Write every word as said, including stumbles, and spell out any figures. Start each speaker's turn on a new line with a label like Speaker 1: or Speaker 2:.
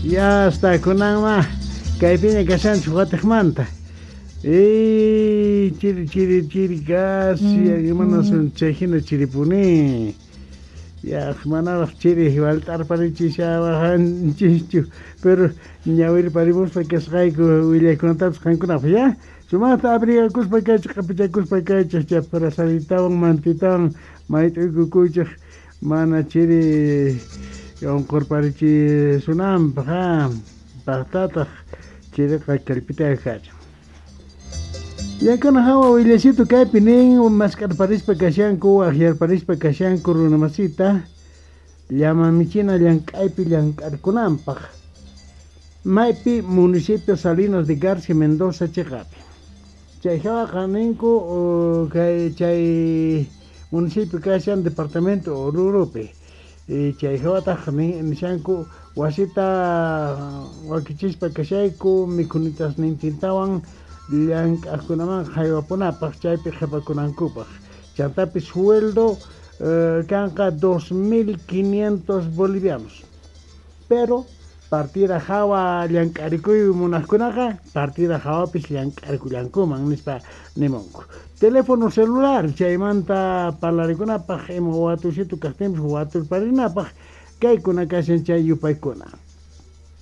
Speaker 1: Ya hasta kunanma kaypiña kashanchik watiqmanta. Ey, chiri chiri chiri kashan, imanasun chay hina chiripuni. Ya manaraq chiri wallt'arparichishawanchischu, pero ñawirparimuspa kasqayku willaykunatapis qankunapaq ya. Sumaqta abrigakuspa kaychik, q'ipichakuspa kaychik, chay brazaletawan mantitawan mayt'uykukuychik mana chiri unqurparichisunanpaq ha, paqtataq chiriqa kallpitaqa kachan. Yakuna hawa willasito kaypi nin mask'arparispa kashanku waqyarparispa kashanku runa masita llama michina llank'aypi llank'arkunanpaq maypi municipio Salinas de Garcia Mendoza chiqapi. Chay hawaqa ninku kay chay municipio kashan departamento Oruropi. Chay hawataq nishanku wasita wakichispa kashayku mikhunitasnintintawan llank'aqkunaman haywapunapaq chaypi qhipakunankupaq. Chantapis sueldo kanqa dos mil quinientos bolivianos. Pero partida hawa llank'arikuy munaqkunaqa partida hawapis llank'arikullankuman nispa nimunku. Teléfono celular chaymanta parlarikunapaq ima watusitu kaqtinpis waturparinapaq kaykuna kashan chay yupaykuna.